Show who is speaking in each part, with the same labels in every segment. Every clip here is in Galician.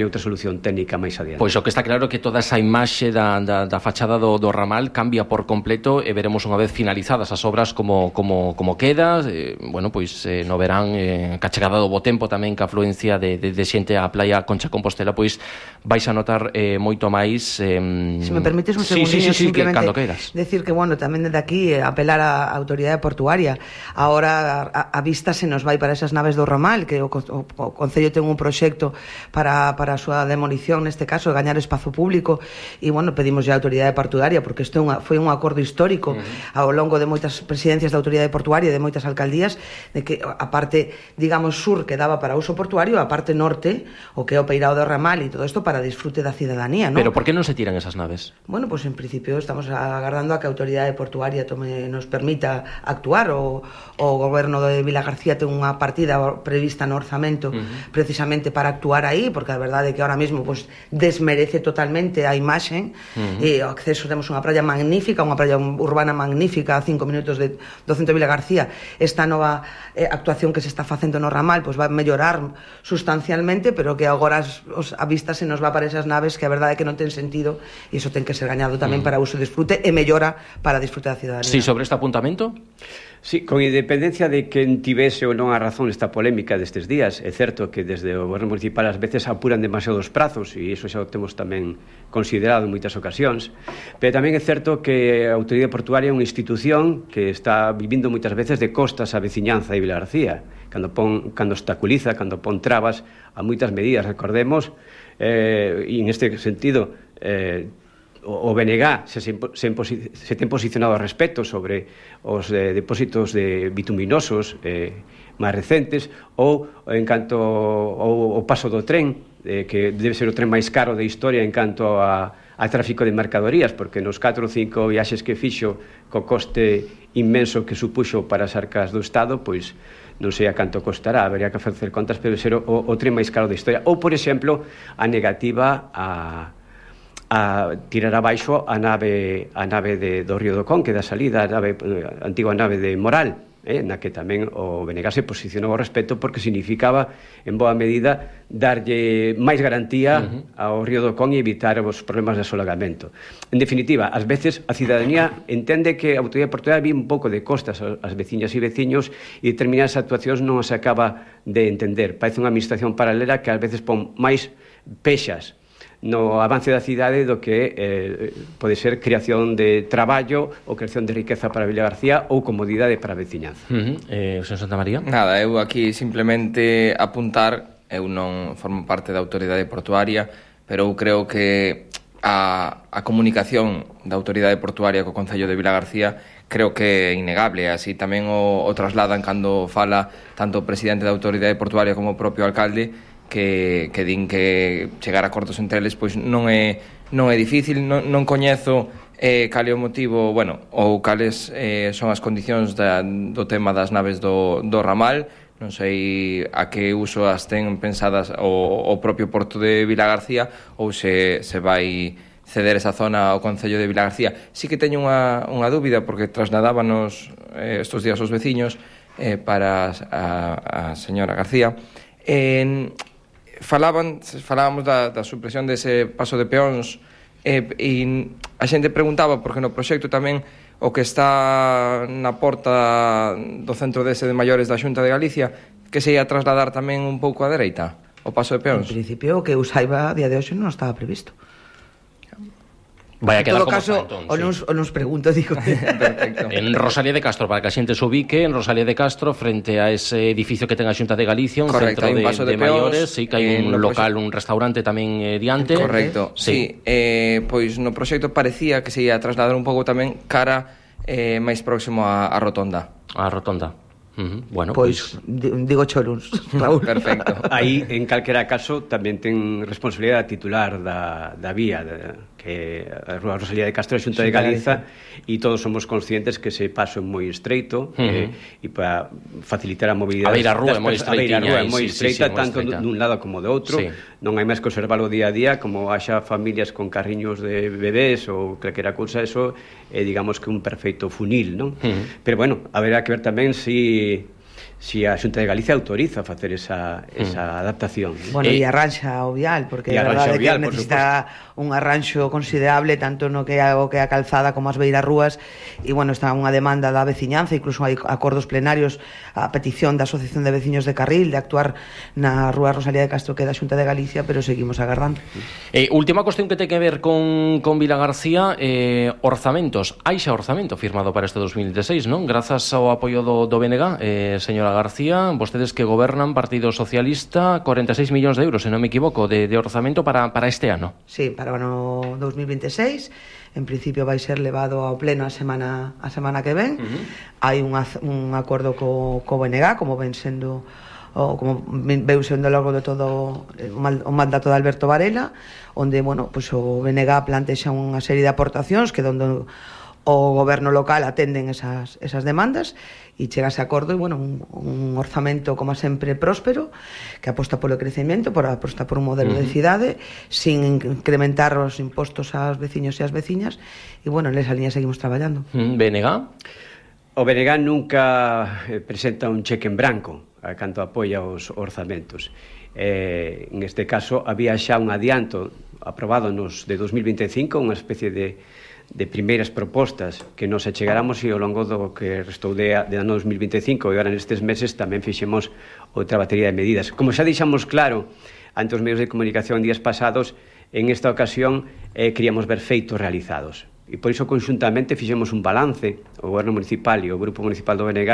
Speaker 1: outra solución técnica máis adiante.
Speaker 2: Pois o que está claro é que toda esa imaxe da fachada do ramal cambia por completo e veremos unha vez finalizadas as obras como queda, bueno, pois no verán ca chegada do bo tempo tamén ca afluencia de xente á playa Concha Compostela, pois vais a notar moito máis
Speaker 3: Se me permites un segundinho, simplemente
Speaker 2: cando queiras.
Speaker 3: Decir que, bueno, tamén desde aquí apelar á autoridade portuaria. Ahora a vista se nos vai para esas naves do ramal, que o Concello ten un proxecto para a súa demolición, neste caso, gañar espazo público, e, bueno, pedimos a autoridade portuaria, porque isto foi un acordo histórico ao longo de moitas presidencias da autoridade portuaria e de moitas alcaldías, de que a parte, digamos, sur que daba para uso portuario, a parte norte, o que é o peirao do ramal e todo isto para disfrute da cidadanía, ¿no?
Speaker 2: Pero por que non se tiran esas naves?
Speaker 3: Bueno, pues en principio estamos agardando a que a autoridade portuaria nos permita actuar. O goberno de Vilagarcía ten unha partida prevista no orzamento precisamente para actuar aí, porque a verdade é que ahora mesmo pues, desmerece totalmente a imaxe e o acceso, temos unha praia magnífica, unha praia urbana magnífica a 5 minutos do centro de Vilagarcía. Esta nova actuación que se está facendo no ramal pues, va a mellorar sustancialmente, pero que agora a vista se nos va para esas naves que a verdade é que non ten sentido e iso ten que ser gañado tamén para uso e disfrute e mellora para disfrute da cidadanía.
Speaker 2: Sí, sobre este apuntamento?
Speaker 1: Sí, con independencia de quen tivese ou non a razón esta polémica destes días, é certo que desde o goberno municipal ás veces apuran demasiados prazos e iso xa o temos tamén considerado en moitas ocasións, pero tamén é certo que a autoridade portuaria é unha institución que está vivindo moitas veces de costas a veciñanza de Vilagarcía, cando obstaculiza, cando pon trabas a moitas medidas. Recordemos, e en este sentido, o BNG se ten posicionado ao respecto sobre os depósitos de bituminosos máis recentes, ou en canto ao paso do tren, que debe ser o tren máis caro da historia en canto a tráfico de mercadorías, porque nos 4 ou 5 viaxes que fixo co coste inmenso que supuxo para as arcas do Estado, pois non sei a canto costará, habería que facer contas, pero ser o tren máis caro da historia. Ou, por exemplo, a negativa a tirar abaixo a nave do Río do Con, que da salida, a antigua nave de Moral, na que tamén o BNG se posicionou ao respecto, porque significaba, en boa medida, darlle máis garantía ao Río do Con e evitar os problemas de asolagamento. En definitiva, ás veces a cidadanía entende que a autoridade portuaria vi un pouco de costas ás veciñas e veciños e determinadas actuacións non se acaba de entender. Parece unha administración paralela que ás veces pon máis pexas no avance da cidade do que pode ser creación de traballo ou creación de riqueza para Vilagarcía ou comodidade para a veciñanza.
Speaker 2: O señor Santamaría?
Speaker 4: Nada, eu aquí simplemente apuntar, eu non formo parte da autoridade portuaria, pero eu creo que a comunicación da autoridade portuaria co Concello de Vilagarcía creo que é innegable, así tamén o trasladan cando fala tanto o presidente da autoridade portuaria como o propio alcalde, que din que chegar a acordos entre eles pois non é difícil, non coñezo cal é o motivo, bueno, ou cales son as condicións do tema das naves do ramal. Non sei a que uso as ten pensadas o propio Porto de Vilagarcía ou se vai ceder esa zona ao Concello de Vilagarcía. Sí que teño unha dúbida, porque trasladábanos estos días os veciños para a señora García. Falábamos da supresión dese paso de peóns e a xente preguntaba porque no proxecto tamén o que está na porta do centro dese de maiores da Xunta de Galicia, que se ia trasladar tamén un pouco á dereita o paso de peóns.
Speaker 3: En principio o que o saiba a día de hoxe non estaba previsto.
Speaker 2: Vai a quedar
Speaker 3: como caso,
Speaker 2: está, entón,
Speaker 3: o nos pregunto, digo.
Speaker 2: Perfecto. En Rosalía de Castro, para que a xente se ubique, en Rosalía de Castro, frente a ese edificio que ten a Xunta de Galicia, un
Speaker 4: correcto,
Speaker 2: centro
Speaker 4: de
Speaker 2: maiores, sí, que hai un local, un restaurante tamén diante.
Speaker 4: Correcto, sí. Pois no proxecto parecía que se ia trasladar un pouco tamén cara máis próximo á rotonda.
Speaker 2: A rotonda. Bueno,
Speaker 3: pois digo Choruns, Raúl.
Speaker 4: Perfecto.
Speaker 1: Aí, en calquera caso, tamén ten responsabilidade titular da vía, que a Rúa Rosalía de Castro é a Xunta de Galiza, e todos somos conscientes que ese paso é moi estreito e para facilitar a mobilidade.
Speaker 2: A beira rúa é moi estreita,
Speaker 1: tanto dun lado como do outro. Non hai máis que observarlo día a día, como haxa familias con carriños de bebés ou calquera cousa, eso é, digamos, que un perfecto funil, non? Pero bueno, haberá que ver tamén se si a Xunta de Galicia autoriza a facer esa adaptación.
Speaker 3: Bueno, e arranxa o vial, porque a verdade é que necesita un arranxo considerable tanto no que a calzada como as beirarrúas, e bueno, está unha demanda da veciñanza, incluso hai acordos plenarios a petición da Asociación de Veciños de Carril de actuar na rúa Rosalía de Castro, que é da Xunta de Galicia, pero seguimos agardando.
Speaker 2: Última cuestión que ten que ver con Vilagarcía, orzamentos. Hai xa orzamento firmado para este 2016, non? Grazas ao apoio do BNG, señora García, vostedes que gobernan, Partido Socialista, 46 millóns de euros, se non me equivoco, de orzamento para este ano.
Speaker 3: Sí, para o ano 2026. En principio vai ser levado ao pleno a semana que ven. Hai un acordo co BNG, como ven sendo como veu sendo ao longo de todo o mandato de Alberto Varela, onde, bueno, pues o BNG plantexa unha serie de aportacións que onde o goberno local atenden esas demandas e chega a ese acordo, e, bueno, un orzamento, como sempre, próspero, que aposta polo crecemento, aposta por un modelo de cidade, sin incrementar os impostos aos veciños e ás veciñas, e, bueno, nesa liña seguimos traballando.
Speaker 2: BNG?
Speaker 1: O BNG nunca presenta un cheque en branco a canto apoia os orzamentos. En este caso, había xa un adianto aprobado nos de 2025, unha especie de primeiras propostas que nos achegáramos, e ao longo do que restou de ano 2025 e agora nestes meses tamén fixemos outra batería de medidas. Como xa deixamos claro ante os medios de comunicación días pasados, en esta ocasión queríamos ver feitos realizados. E por iso conxuntamente fixemos un balance, o Goberno Municipal e o Grupo Municipal do BNG,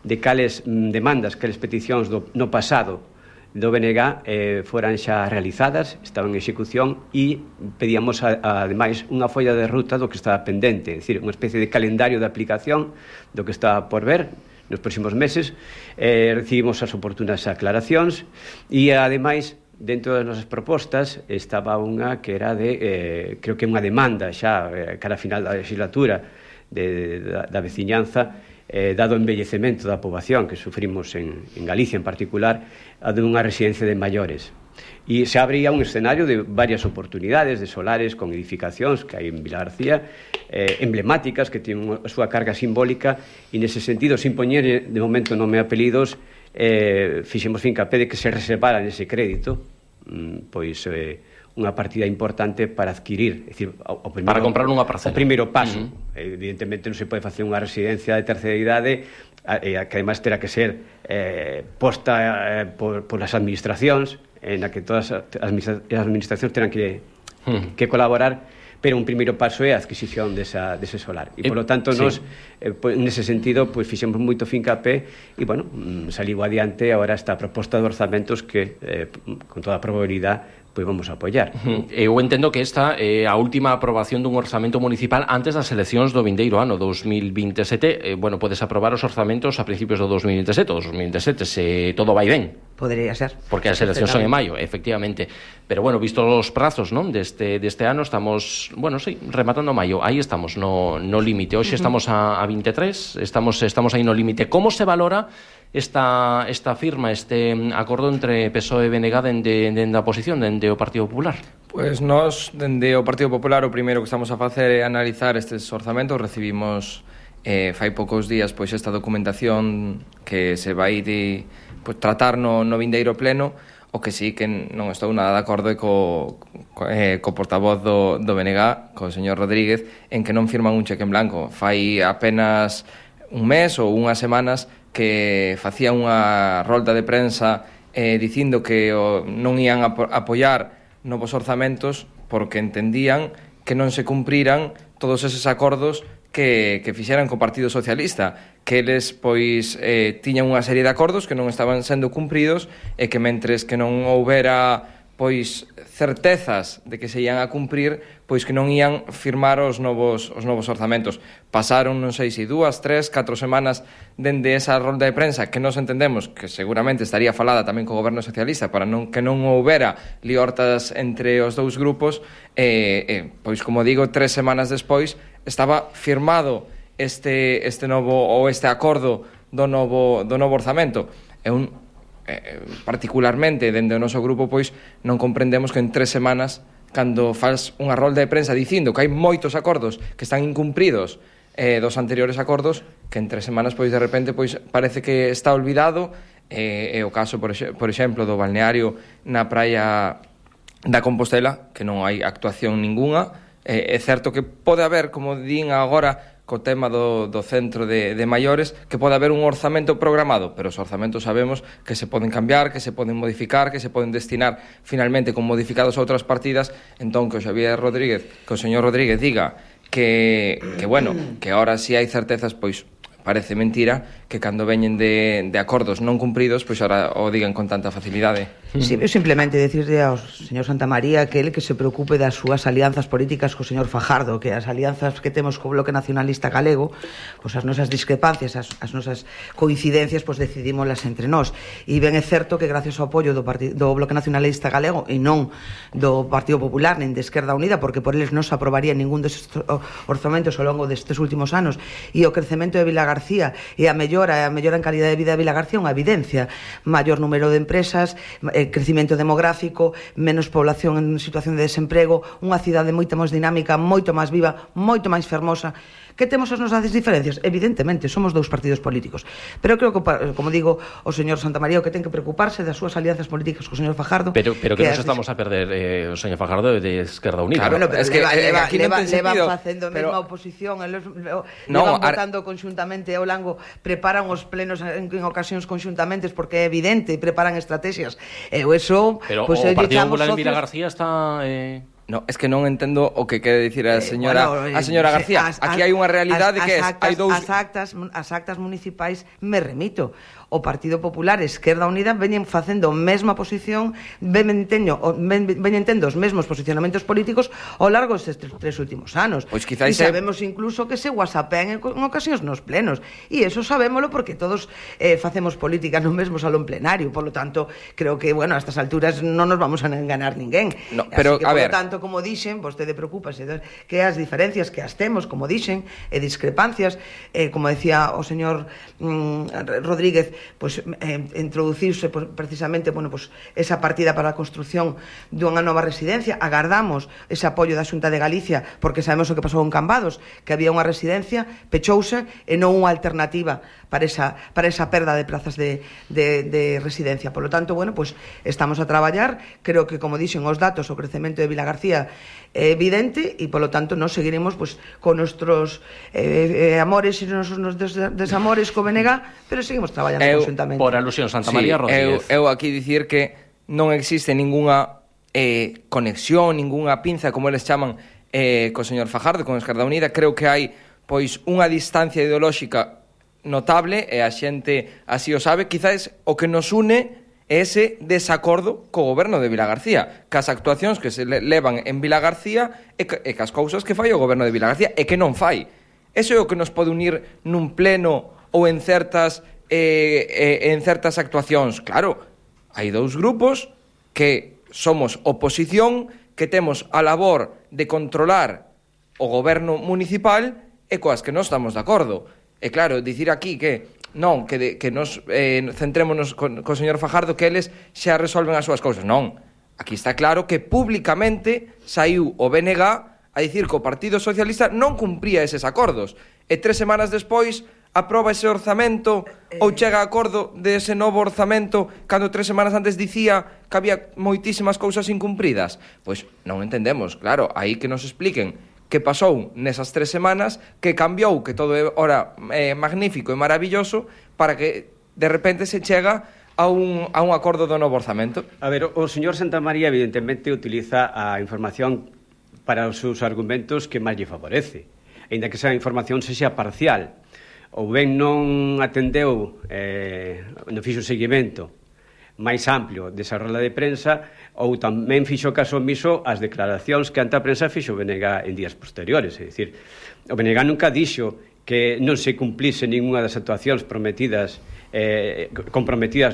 Speaker 1: de cales demandas, cales peticións no pasado do BNG foran xa realizadas, estaban en execución, e pedíamos ademais unha folla de ruta do que estaba pendente, é dicir, unha especie de calendario de aplicación do que estaba por ver nos próximos meses. Recibimos as oportunas aclaracións e ademais dentro das nosas propostas estaba unha que era de, creo que unha demanda xa cara a final da legislatura da veciñanza, dado o envellecemento da poboación que sufrimos en Galicia en particular, a de unha residencia de maiores. E se abría un escenario de varias oportunidades de solares con edificacións que hai en Vilagarcía, emblemáticas, que tienen a súa carga simbólica, e nese sentido, sin poñer de momento nome e apelidos, fixemos fincapé de que se reservara nese crédito pois unha partida importante para adquirir, é dicir,
Speaker 2: para comprar unha parcela.
Speaker 1: O primeiro paso. Evidentemente non se pode facer unha residencia de terceira idade que ademais terá que ser posta por as administracións, na que todas as administracións terán que colaborar, pero un primeiro paso é a adquisición dese solar. E, polo tanto, nos, nese sentido, fixemos moito fincapé e, bueno, saliu adiante agora esta proposta de orzamentos que, con toda a probabilidade, vamos a apoiar.
Speaker 2: Eu entendo que esta é a última aprobación dun orzamento municipal antes das eleccións do vindeiro ano 2027. Bueno, podes aprobar os orzamentos a principios do 2027 ou 2027, se todo vai ben.
Speaker 3: Podría ser.
Speaker 2: Porque as eleccións son en maio, efectivamente. Pero, bueno, visto os prazos, non, deste ano, estamos, bueno, sí, rematando maio. Aí estamos no límite. Hoxe estamos a 23, estamos aí no límite. Como se valora esta firma, este acordo entre PSOE e BNG dende a oposición, dende o Partido Popular?
Speaker 4: Pois nós, dende o Partido Popular, o primeiro que estamos a facer é analizar estes orzamentos. Recibimos fai poucos días pois esta documentación que se vai tratar no vindeiro pleno. O que sí que non estou nada de acordo co portavoz do BNG, co señor Rodríguez, en que non firman un cheque en blanco. Fai apenas un mes ou unhas semanas que facía unha rolda de prensa dicindo que non ian apoiar novos orzamentos porque entendían que non se cumpriran todos eses acordos que fixeran co Partido Socialista, que eles pois tiñan unha serie de acordos que non estaban sendo cumpridos e que mentres que non houbera pois certezas de que se ian a cumprir, pois que non ian firmar os novos orzamentos. Pasaron, non sei se 2, 3, 4 semanas dende esa rolda de prensa que nos entendemos que seguramente estaría falada tamén co Goberno Socialista para que non houbera liortas entre os dous grupos, pois como digo, 3 semanas despois estaba firmado este novo ou este acordo do novo orzamento. É particularmente dende o noso grupo pois non comprendemos que en 3 semanas, cando faz unha rolda de prensa dicindo que hai moitos acordos que están incumpridos dos anteriores acordos que en 3 semanas, pois, de repente, pois, parece que está olvidado. É o caso, por exemplo, do balneario na praia da Compostela, que non hai actuación ninguna. É certo que pode haber, como din agora, co tema do centro de maiores, que pode haber un orzamento programado, pero os orzamentos sabemos que se poden cambiar, que se poden modificar, que se poden destinar finalmente con modificados a outras partidas. Entón, que o señor Rodríguez diga que bueno, que ahora si hai certezas, pois parece mentira que cando veñen de acordos non cumpridos, pois ahora o digan con tanta facilidade.
Speaker 3: Sí, eu simplemente decirle ao señor Santamaría que ele que se preocupe das súas alianzas políticas co señor Fajardo, que as alianzas que temos co Bloque Nacionalista Galego, pois as nosas discrepancias, as nosas coincidencias, pois decidímolas entre nós. E ben é certo que gracias ao apoio do Bloque Nacionalista Galego e non do Partido Popular nen de Esquerda Unida, porque por eles non se aprobaría ningún destes orzamentos ao longo destes últimos anos, e o crecemento de Vilagarcía e a mellora en calidad de vida de Vilagarcía unha evidencia. Maior número de empresas, crecimento demográfico, menos población en situación de desemprego, unha cidade moito máis dinámica, moito máis viva, moito máis fermosa. Que temos as nosas diferencias? Evidentemente, somos dous partidos políticos. Pero creo que, como digo, o señor Santamaría o que ten que preocuparse das súas alianzas políticas co señor Fajardo.
Speaker 2: Pero que nos estamos a perder o señor Fajardo de Esquerda Unida.
Speaker 3: Claro, pero
Speaker 4: es que
Speaker 3: leva facendo a mesma oposición, levan votando conxuntamente ao longo, preparan os plenos en ocasións conxuntamentes porque é evidente, preparan estrategias. Eso,
Speaker 2: pero
Speaker 3: pues,
Speaker 2: o Partido Popular en Vilagarcía está...
Speaker 4: No, es que non entendo o que quere dicir a señora García. Aquí hai unha realidade que hai dous...
Speaker 3: As actas municipais me remito. O Partido Popular e Esquerda Unida veñen facendo a mesma posición, veñen tendo os mesmos posicionamentos políticos ao largo destes 3 últimos anos.
Speaker 4: Pois
Speaker 3: e sabemos incluso que se whatsappean en ocasións nos plenos. E eso sabémolo porque todos facemos política no mesmo salón plenario. Por lo tanto, creo que, bueno, a estas alturas non nos vamos a enganar ninguén.
Speaker 4: No, pero,
Speaker 3: así que, por lo tanto, como dixen, vostede preocúpase que as diferencias que as temos, como dixen, e discrepancias, como decía o señor Rodríguez, pues introducirse precisamente, bueno, pues esa partida para a construción dunha nova residencia. Agardamos ese apoio da Xunta de Galicia porque sabemos o que pasou en Cambados, que había unha residencia, pechouse e non unha alternativa para esa perda de plazas de residencia. Por lo tanto, bueno, pues estamos a traballar. Creo que, como dixen os datos, o crecemento de Vilagarcía é evidente e, por lo tanto, nos seguiremos pues con nuestros amores e nos desamores co BNG, pero seguimos traballando conjuntamente.
Speaker 2: Por alusión, Santamaría Rodríguez.
Speaker 4: Eu aquí dicir que non existe ningunha conexión, ningunha pinza, como eles chaman, co señor Fajardo, con Esquerda Unida. Creo que hai pois unha distancia ideolóxica notable e a xente así o sabe. Quizás o que nos une é ese desacordo co goberno de Vilagarcía, cas actuacións que se levan en Vilagarcía e cas cousas que fai o goberno de Vilagarcía e que non fai. Eso é o que nos pode unir nun pleno ou en certas actuacións. Claro, hai dous grupos que somos oposición, que temos a labor de controlar o goberno municipal e coas que non estamos de acordo. E claro, dicir aquí que non, que nos centrémonos co señor Fajardo, que eles xa resolven as súas cousas. Non, aquí está claro que públicamente saiu o BNG a dicir que o Partido Socialista non cumpría eses acordos. E 3 semanas despois aproba ese orzamento ou chega a acordo dese novo orzamento cando 3 semanas antes dicía que había moitísimas cousas incumpridas. Pois non entendemos, claro, aí que nos expliquen que pasou nesas 3 semanas, que cambiou, que todo é ora magnífico e maravilloso, para que de repente se chega a un acordo do novo orzamento.
Speaker 1: A ver, o señor Santamaría evidentemente utiliza a información para os seus argumentos que máis lle favorece, aínda que esa información sexa parcial, ou ben non atendeu, non fixo seguimento máis amplio desa rola de prensa, ou tamén fixo caso omiso ás declaracións que ante a prensa fixo o BNG en días posteriores. É dicir, o BNG nunca dixo que non se cumplise ninguna das actuacións comprometidas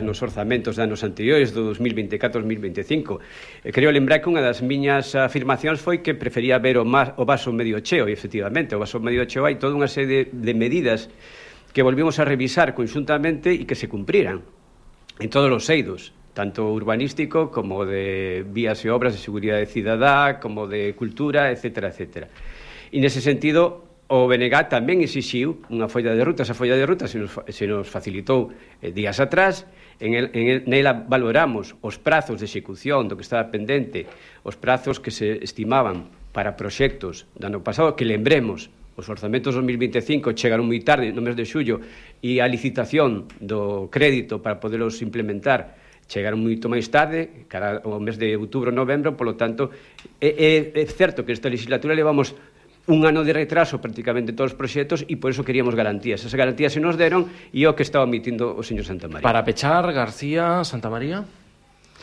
Speaker 1: nos orzamentos de anos anteriores, do 2024-2025. Creo lembrar que unha das miñas afirmacións foi que prefería ver o vaso medio cheo, e efectivamente, o vaso medio cheo hai toda unha serie de medidas que volvimos a revisar conxuntamente e que se cumpriran en todos os eidos, tanto urbanístico como de vías e obras de seguridade cidadá, como de cultura, etcétera, etcétera. E nese sentido, O BNG tamén exixiu unha folla de ruta. Esa folla de ruta se nos facilitou días atrás. Nela valoramos os prazos de execución do que estaba pendente, os prazos que se estimaban para proxectos do ano pasado, que lembremos, os orzamentos 2025 chegaron moi tarde, no mes de xullo, e a licitación do crédito para podelos implementar chegaron moito máis tarde, cara ao mes de outubro, novembro. Polo tanto, é certo que esta legislatura levamos un ano de retraso prácticamente en todos os proxectos, e por eso queríamos garantías. Esas garantías se nos deron, e o que estaba omitindo o señor Santamaría.
Speaker 2: Para pechar, García, Santamaría,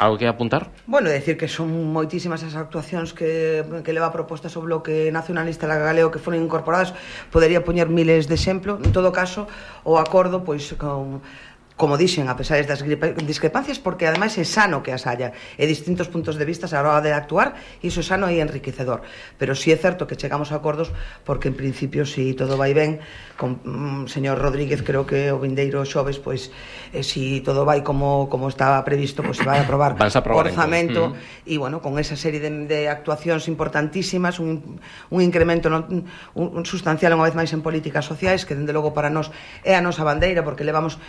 Speaker 2: algo que apuntar?
Speaker 3: Bueno, decir que son moitísimas as actuacións que leva propostas o Bloque Nacionalista Galego que foron incorporadas. Podería poñer miles de exemplo. En todo caso, o acordo, pois, como dixen, a pesar das discrepancias, porque ademais é sano que as haya, e distintos puntos de vista a hora de actuar, e iso é sano e enriquecedor. Pero sí é certo que chegamos a acordos, porque en principio, si todo vai ben, con señor Rodríguez, creo que o vindeiro xoves, pois, si todo vai como estaba previsto, pois se vai a aprobar o orzamento, e, bueno, con esa serie de actuacións importantísimas, un incremento sustancial unha vez máis en políticas sociais, que, dende logo, para nós é a nosa bandeira, porque levamos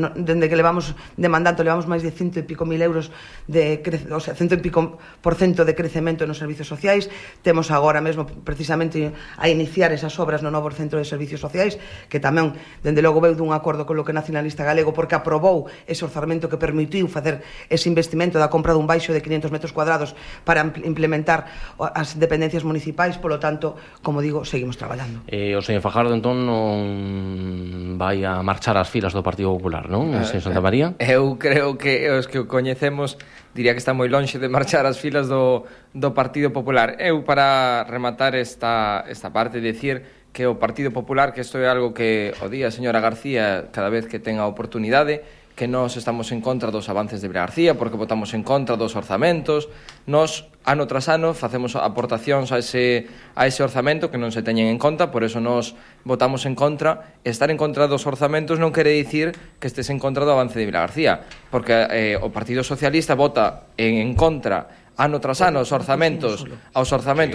Speaker 3: dende que levamos demandando, levamos máis de 100 e pico mil euros o sea, 100 e pico % de crecemento nos servicios sociais. Temos agora mesmo precisamente a iniciar esas obras no novo centro de servicios sociais, que tamén, dende logo, veu dun acordo co Bloque Nacionalista Galego, porque aprobou ese orzamento que permitiu facer ese investimento da compra dun baixo de 500 metros cuadrados para implementar as dependencias municipais. Polo tanto, como digo, seguimos traballando.
Speaker 2: O señor Fajardo, entón, non vai a marchar ás filas do Partido Popular, non, señor Santamaría?
Speaker 4: Eu creo que os que o coñecemos diría que está moi lonxe de marchar as filas do Partido Popular. Eu, para rematar esta parte, decir que o Partido Popular, que isto é algo que o día a señora García cada vez que ten a oportunidade, que nós estamos en contra dos avances de Vilagarcía, porque votamos en contra dos orzamentos. Nós, ano tras ano, facemos aportacións a ese orzamento que non se teñen en conta, por eso nós votamos en contra. Estar en contra dos orzamentos non quere dicir que estés en contra do avance de Vilagarcía, porque o Partido Socialista vota en contra ano tras ano aos orzamentos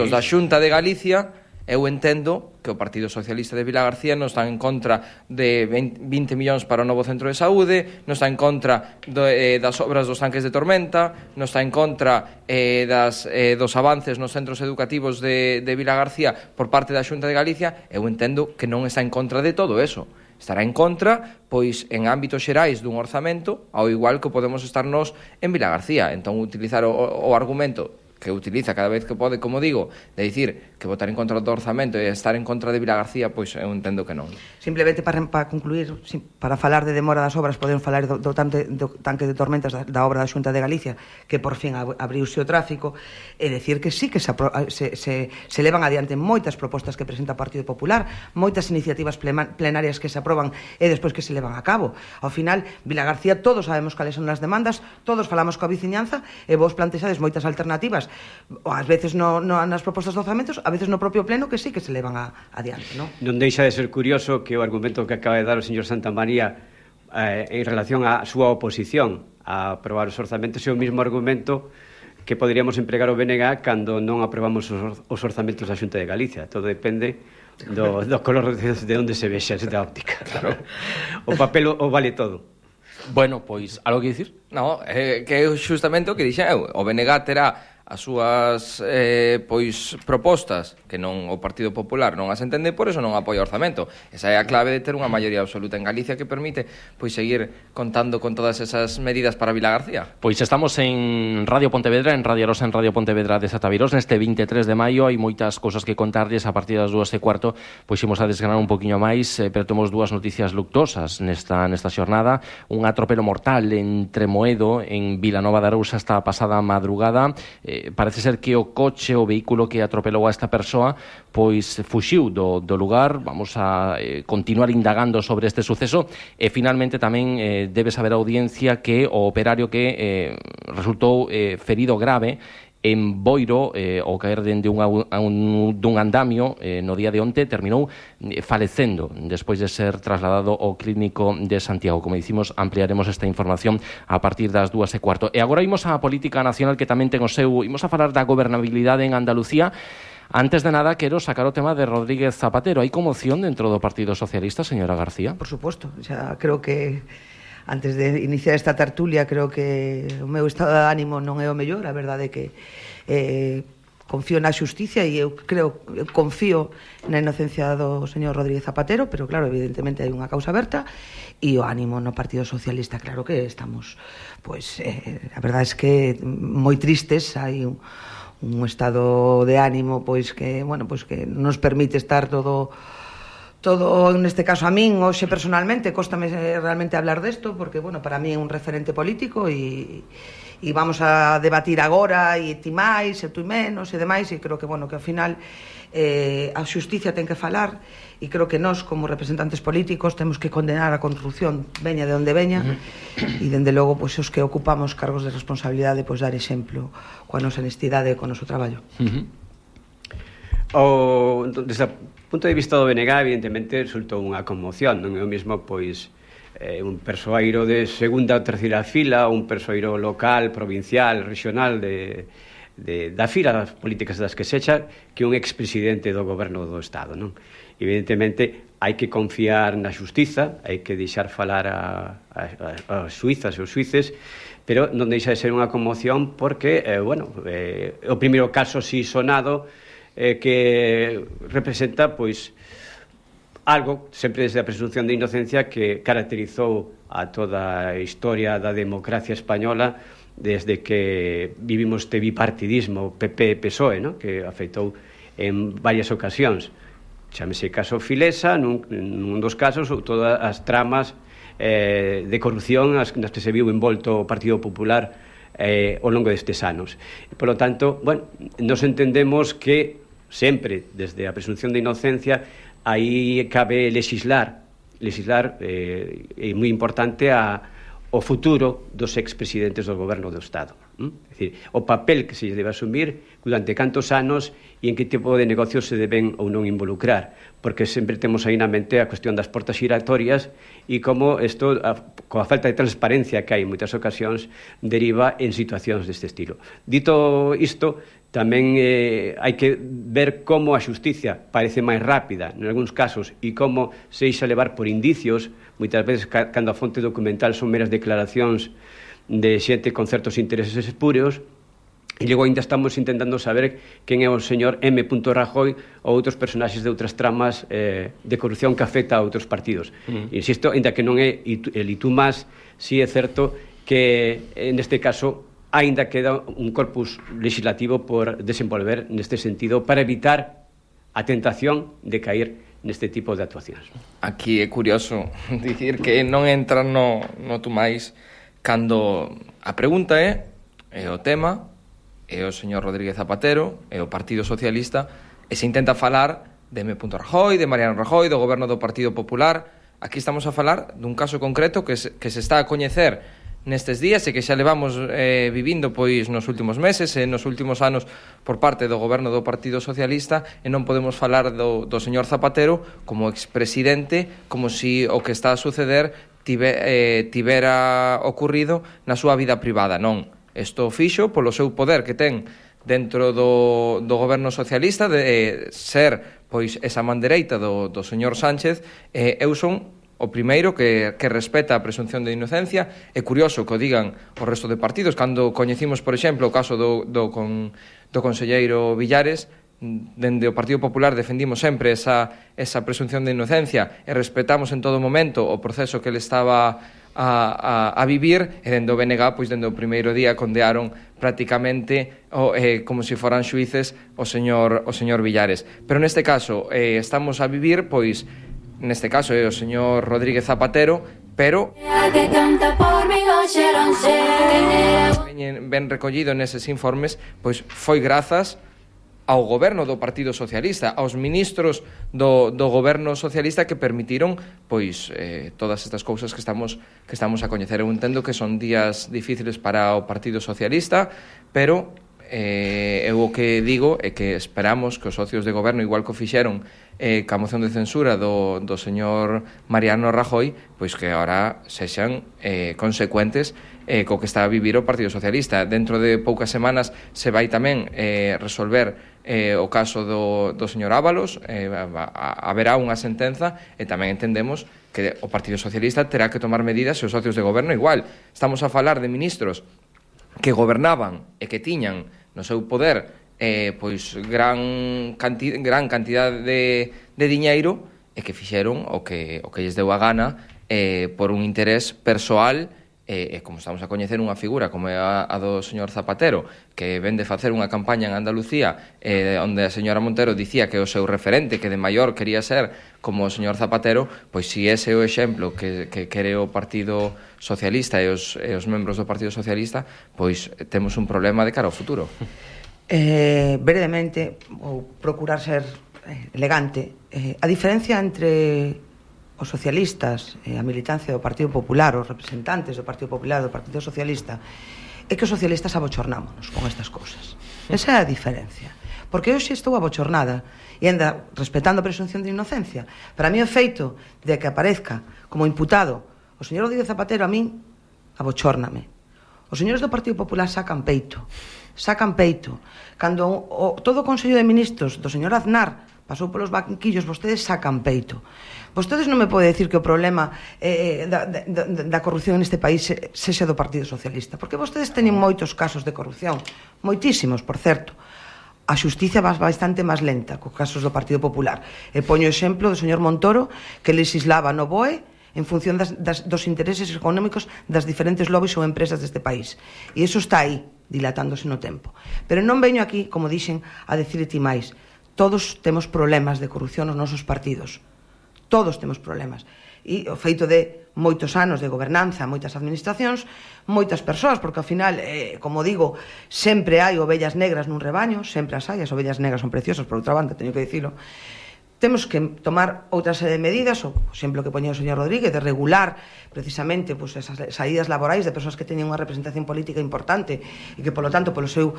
Speaker 4: da Xunta de Galicia. Eu entendo que o Partido Socialista de Vilagarcía non está en contra de 20 millóns para o novo centro de saúde, non está en contra das obras dos tanques de Tormenta, non está en contra dos avances nos centros educativos de Vilagarcía por parte da Xunta de Galicia. Eu entendo que non está en contra de todo eso. Estará en contra, pois, en ámbitos xerais dun orzamento, ao igual que podemos estarnos en Vilagarcía. Entón, utilizar o argumento que utiliza cada vez que pode, como digo, de dicir que votar en contra do orzamento e estar en contra de Vilagarcía, pois eu entendo que non.
Speaker 3: Simplemente para concluir, para falar de demora das obras, podemos falar do tanque de Tormentas da obra da Xunta de Galicia, que por fin abriuse o tráfico, e decir que sí que se levan adiante moitas propostas que presenta o Partido Popular, moitas iniciativas plenarias que se aproban e despois que se levan a cabo. Ao final, Vilagarcía, todos sabemos cales son as demandas, todos falamos coa veciñanza e vos plantexades moitas alternativas, ás veces nas propostas de orzamentos, a veces no propio pleno, que sí que se levan adiante, non?
Speaker 1: Non deixa de ser curioso que o argumento que acaba de dar o señor Santamaría en relación á súa oposición a aprobar os orzamentos é o mesmo argumento que poderíamos empregar o BNG cando non aprobamos os orzamentos da Xunta de Galicia. Todo depende do color de onde se vexa esta óptica. Claro. O papel o vale todo.
Speaker 2: Bueno, pois, algo que dicir?
Speaker 4: Non, que é justamente o que dixen eu. O BNG terá as súas propostas que non o Partido Popular non as entende, por eso non apoia o orzamento. Esa é a clave de ter unha maioría absoluta en Galicia que permite seguir contando con todas esas medidas para Vilagarcía.
Speaker 2: Pois estamos en Radio Pontevedra, en Radio Rosa, en Radio Pontevedra de Satavirós, neste 23 de maio. Hai moitas cousas que contarlles. A partir das 2:15 pois imos a desgranar un poquinho máis, pero temos dúas noticias luctosas nesta xornada. Un atropelo mortal en Tremoedo, en Vilanova de Arousa, esta pasada madrugada. Parece ser que o vehículo que atropelou a esta persoa, pois fuxiu do lugar. Vamos a continuar indagando sobre este suceso e finalmente tamén debe saber a audiencia que o operario que resultou ferido grave en Boiro, ao caer dende dun andamio no día de onte, terminou falecendo despois de ser trasladado ao clínico de Santiago. Como dicimos, ampliaremos esta información a partir das 2:15. E agora imos á política nacional, que tamén ten o seu. Imos a falar da gobernabilidade en Andalucía. Antes de nada, quero sacar o tema de Rodríguez Zapatero. Hai conmoción dentro do Partido Socialista, señora García?
Speaker 3: Por suposto, xa creo que antes de iniciar esta tertulia creo que o meu estado de ánimo non é o mellor. A verdade é que confío na xusticia e eu confío na inocencia do señor Rodríguez Zapatero, pero claro, evidentemente hai unha causa aberta e o ánimo no Partido Socialista, claro que estamos, pois, a verdade é que moi tristes, hai un estado de ánimo, pois que, bueno, pois que nos permite estar todo, neste caso a min, hoxe personalmente, cóstame realmente hablar desto, porque, bueno, para mí é un referente político e vamos a debatir agora e ti máis, e tu menos e demais, e creo que, bueno, que ao final a xusticia ten que falar e creo que nós, como representantes políticos, temos que condenar a corrupción veña de onde veña e, dende logo, pois, os que ocupamos cargos de responsabilidade, pois, dar exemplo coa nosa honestidade e co noso traballo.
Speaker 1: Desde o punto de vista do BNG, evidentemente, resultou unha conmoción, non é o mesmo, pois, un persoeiro de segunda ou terceira fila, un persoeiro local, provincial, regional da fila das políticas das que sexa, que un expresidente do goberno do Estado, non? Evidentemente, hai que confiar na xustiza, hai que deixar falar as suizas e os suíces, pero non deixa de ser unha conmoción porque, o primeiro caso si sonado que representa, pois, algo, sempre desde a presunción de inocencia, que caracterizou a toda a historia da democracia española desde que vivimos este bipartidismo PP-PSOE, ¿no?, que afectou en varias ocasións. Chámese caso Filesa, nun dos casos, ou todas as tramas de corrupción nas que se viu envolto o Partido Popular ao longo destes anos. Por lo tanto, bueno, nos entendemos que sempre, desde a presunción de inocencia, aí cabe legislar é moi importante o futuro dos expresidentes do goberno do Estado. É dicir, o papel que se debe asumir durante cantos anos e en que tipo de negocios se deben ou non involucrar, porque sempre temos aí na mente a cuestión das portas giratorias e como isto, coa falta de transparencia que hai en moitas ocasións, deriva en situacións deste estilo. Dito isto, tamén hai que ver como a xusticia parece máis rápida en algúns casos e como se deixa levar por indicios, moitas veces cando a fonte documental son meras declaracións de xente con certos intereses espúreos, e logo ainda estamos intentando saber quen é o señor M. Rajoy ou outros personaxes de outras tramas de corrupción que afecta a outros partidos. Insisto, ainda que non é el y tú más, si é certo que neste caso aínda queda un corpus legislativo por desenvolver neste sentido para evitar a tentación de caer neste tipo de actuacións.
Speaker 4: Aquí é curioso dicir que non entra no tú máis cando a pregunta é o tema, é o señor Rodríguez Zapatero, é o Partido Socialista, e se intenta falar de M. Rajoy, de Mariano Rajoy, do goberno do Partido Popular. Aquí estamos a falar dun caso concreto que se está a coñecer nestes días e que xa levamos vivindo pois nos últimos meses e nos últimos anos por parte do goberno do Partido Socialista, e non podemos falar do señor Zapatero como expresidente como si o que está a suceder tivera ocurrido na súa vida privada. Non, isto fixo polo seu poder que ten dentro do goberno socialista de ser pois esa man dereita do señor Sánchez. Eu son o primeiro que respeta a presunción de inocencia. É curioso que o digan o resto de partidos. Cando coñecimos, por exemplo, o caso do conselleiro Villares, dende o Partido Popular defendimos sempre esa presunción de inocencia e respetamos en todo momento o proceso que ele estaba a vivir, e dende o BNG, pois dende o primeiro día condearon prácticamente como se foran xuíces o señor Villares. Pero neste caso estamos a vivir, pois neste caso é o señor Rodríguez Zapatero, pero ben recollido neses informes, pois foi grazas ao goberno do Partido Socialista, aos ministros do goberno socialista que permitiron pois todas estas cousas que estamos a coñecer. Eu entendo que son días difíciles para o Partido Socialista, pero eu o que digo é que esperamos que os socios de goberno, igual que o fixeron ca moción de censura do señor Mariano Rajoy, pois que agora sexan consecuentes co que está a vivir o Partido Socialista. Dentro de poucas semanas se vai tamén resolver o caso do señor Ábalos, haberá unha sentenza e tamén entendemos que o Partido Socialista terá que tomar medidas e os socios de goberno igual. Estamos a falar de ministros que gobernaban e que tiñan no seu poder pois gran cantidad de diñeiro e que fixeron o que lles deu a gana por un interés persoal e como estamos a coñecer unha figura como é a do señor Zapatero, que ven de facer unha campaña en Andalucía onde a señora Montero dicía que o seu referente, que de maior quería ser como o señor Zapatero, pois si ese é o exemplo que quere o Partido Socialista e os membros do Partido Socialista, pois temos un problema de cara ao futuro.
Speaker 3: Brevemente, ou procurar ser elegante, a diferencia entre os socialistas e a militancia do Partido Popular, os representantes do Partido Popular e do Partido Socialista, é que os socialistas abochornámonos con estas cousas. Esa é a diferencia. Porque eu xe estou abochornada e anda respetando a presunción de inocencia. Para mí o feito de que aparezca como imputado o señor Rodríguez Zapatero, a min abochórname. Os señores do Partido Popular sacan peito. Cando todo o Consello de Ministros do señor Aznar pasou polos banquillos, vostedes sacan peito. Vostedes non me pode decir que o problema da corrupción neste país sexa do Partido Socialista, porque vostedes teñen moitos casos de corrupción, moitísimos, por certo. A xustiza va bastante máis lenta cos casos do Partido Popular. E poño o exemplo do señor Montoro, que legislaba no BOE en función dos intereses económicos das diferentes lobbies ou empresas deste país. E iso está aí, dilatándose no tempo. Pero non veño aquí, como dixen, a decir ti máis. Todos temos problemas de corrupción nos nosos partidos. Todos temos problemas. E o feito de moitos anos de gobernanza, moitas administracións, moitas persoas, porque ao final, como digo, sempre hai ovellas negras nun rebaño, sempre as hai, as ovellas negras son preciosas, por outra banda, teño que dicilo. Temos que tomar outra serie de medidas, o exemplo que poñía o señor Rodríguez, de regular precisamente pues, esas saídas laborais de persoas que teñen unha representación política importante e que, polo tanto, polo seu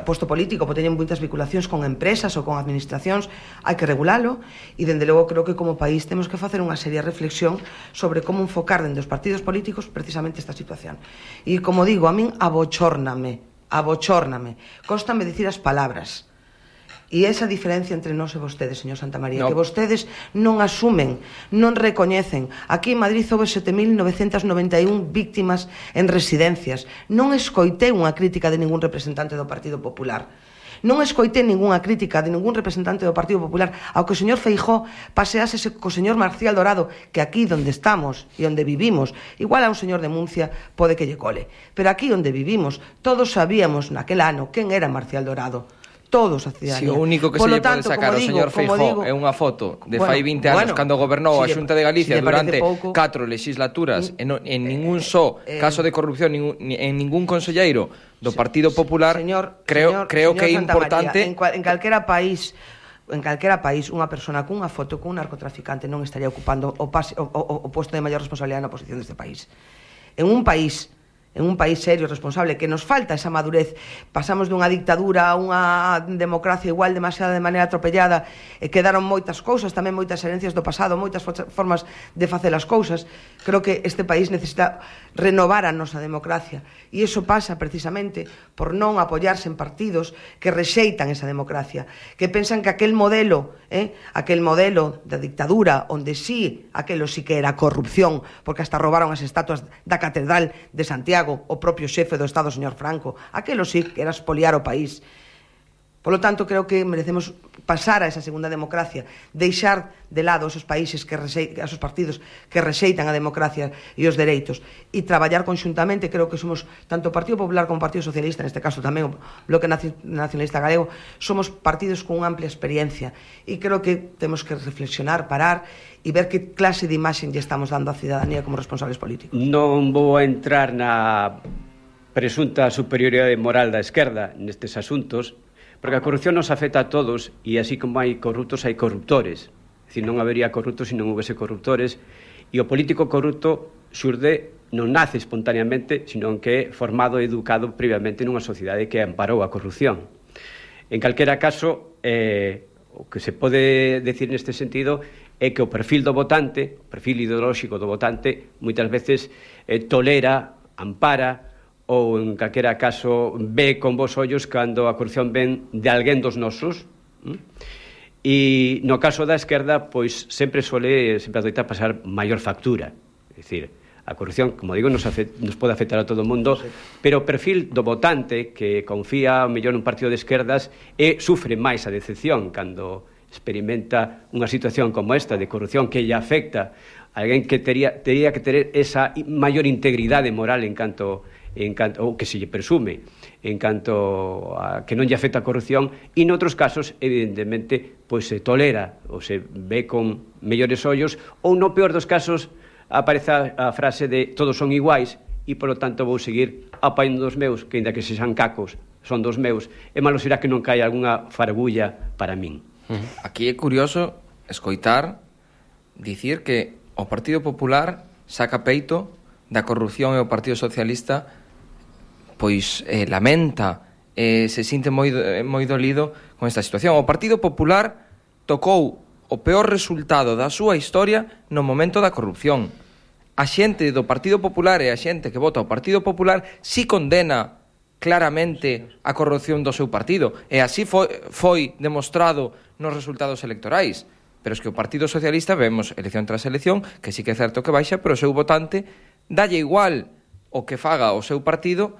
Speaker 3: posto político teñen moitas vinculacións con empresas ou con administracións. Hai que regulalo e, dende logo, creo que como país temos que facer unha seria reflexión sobre como enfocar dentro dos partidos políticos precisamente esta situación. E, como digo, a min abochórname, cóstame dicir as palabras. E esa diferencia entre nós e vostedes, señor Santamaría, que vostedes non asumen, non recoñecen. Aquí en Madrid houve 7.991 víctimas en residencias. Non escoitei unha crítica de ningún representante do Partido Popular. Non escoitei ninguna crítica de ningún representante do Partido Popular ao que o señor Feijóo pasease co señor Marcial Dorado, que aquí onde estamos e onde vivimos, igual a un señor de Muncia pode que lle cole, pero aquí onde vivimos todos sabíamos naquel ano quen era Marcial Dorado. Todos a cidadanía.
Speaker 4: Si o único que se lle pode sacar ao señor Feijóo é unha foto de fai 20 anos cando gobernou a Xunta de Galicia durante 4 legislaturas en ningún caso de corrupción en ningún conselleiro do Partido Popular, creo que é importante.
Speaker 3: En calquera país unha persona cunha foto cun narcotraficante non estaría ocupando o posto de maior responsabilidade na oposición deste país. En un país serio, responsable, que nos falta esa madurez, pasamos dunha dictadura a unha democracia igual demasiado de maneira atropellada, e quedaron moitas cousas, tamén moitas herencias do pasado, moitas formas de facer as cousas. Creo que este país necesita renovar a nosa democracia, e iso pasa precisamente por non apoiarse en partidos que rexeitan esa democracia, que pensan que aquel modelo da dictadura, onde aquelo sí que era corrupción, porque hasta roubaron as estatuas da Catedral de Santiago, o propio xefe do Estado, o señor Franco, aquelo sí que era espoliar o país. Polo tanto, creo que merecemos pasar a esa segunda democracia, deixar de lado esos países, esos partidos que rexeitan a democracia e os dereitos, e traballar conxuntamente. Creo que somos, tanto o Partido Popular como o Partido Socialista, neste caso tamén o Bloque Nacionalista Galego, somos partidos con unha amplia experiencia, e creo que temos que reflexionar, parar e ver que clase de imaxe lle estamos dando á cidadanía como responsables políticos.
Speaker 1: Non vou a entrar na presunta superioridade moral da esquerda nestes asuntos, porque a corrupción nos afecta a todos, e así como hai corruptos, hai corruptores. É dicir, non habería corruptos se non houvese corruptores, e o político corrupto xurde non nace espontaneamente, sino que é formado e educado previamente nunha sociedade que amparou a corrupción. En calquera caso, o que se pode decir neste sentido é que o perfil do votante, o perfil ideolóxico do votante, moitas veces tolera, ampara, ou en calquera caso ve con bons ollos cando a corrupción ven de alguén dos nosos. E no caso da esquerda, pois sempre adoita pasar maior factura. É dicir, a corrupción, como digo, nos pode afectar a todo o mundo, pero o perfil do votante que confía ao mellor nun partido de esquerdas sufre máis a decepción cando experimenta unha situación como esta de corrupción que lle afecta a alguén que tería que ter esa maior integridade moral en canto ou que se lle presume en canto a que non lle afecta a corrupción, e noutros casos evidentemente pois se tolera ou se ve con mellores ollos, ou no peor dos casos aparece a frase de todos son iguais e polo tanto vou seguir apañando dos meus, que ainda que sexan cacos son dos meus, e malo será que non caia algunha fargulla para min.
Speaker 4: Aquí é curioso escoitar dicir que o Partido Popular saca peito da corrupción e o Partido Socialista pois lamenta, se sinte moi dolido con esta situación. O Partido Popular tocou o peor resultado da súa historia no momento da corrupción. A xente do Partido Popular e a xente que vota o Partido Popular si condena claramente a corrupción do seu partido, e así foi demostrado nos resultados electorais. Pero es que o Partido Socialista vemos elección tras elección que sí que é certo que baixa, pero o seu votante dalle igual o que faga o seu partido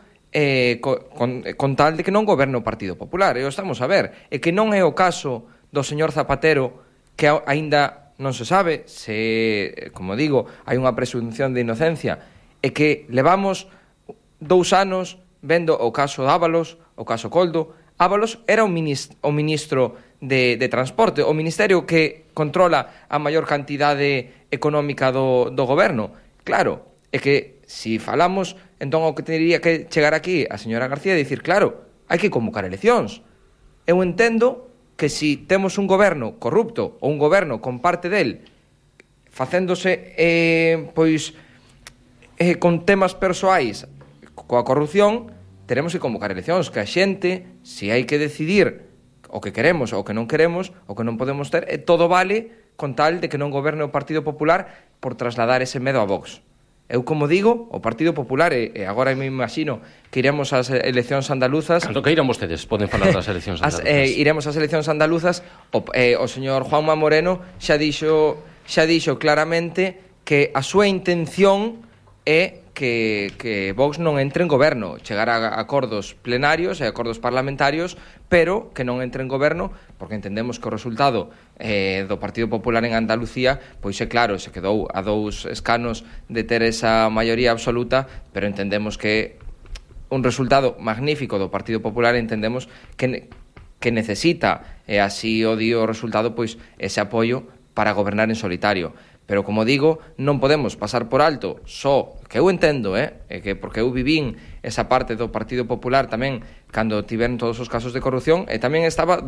Speaker 4: con tal de que non goberne o Partido Popular. E o estamos a ver. E que non é o caso do señor Zapatero, que aínda non se sabe se, como digo, hai unha presunción de inocencia, e que levamos 2 anos vendo o caso Ábalos, o caso Coldo. Ábalos era o ministro de Transporte, o ministerio que controla a maior cantidade económica do goberno. Claro, é que se falamos, entón o que teria que chegar aquí a señora García e dicir, claro, hai que convocar eleccións. Eu entendo que se temos un goberno corrupto ou un goberno con parte del facéndose con temas persoais coa corrupción, teremos que convocar eleccións, que a xente, se hai que decidir o que queremos ou o que non queremos, o que non podemos ter, todo vale con tal de que non goberne o Partido Popular por trasladar ese medo a Vox. Eu, como digo, o Partido Popular, e agora me imagino que iremos ás eleccións andaluzas...
Speaker 2: Cando que irán vostedes, poden falar das eleccións andaluzas.
Speaker 4: Iremos ás eleccións andaluzas, o señor Juanma Moreno xa dixo claramente que a súa intención é que Vox non entre en goberno, chegar a acordos plenarios e acordos parlamentarios, pero que non entre en goberno, porque entendemos que o resultado do Partido Popular en Andalucía, pois é claro, se quedou a 2 escanos de ter esa maioría absoluta, pero entendemos que un resultado magnífico do Partido Popular, entendemos que necesita, e así o dio o resultado, pois ese apoio para gobernar en solitario. Pero, como digo, non podemos pasar por alto só, que eu entendo, que porque eu vivín esa parte do Partido Popular tamén cando tiveron todos os casos de corrupción, e tamén estaba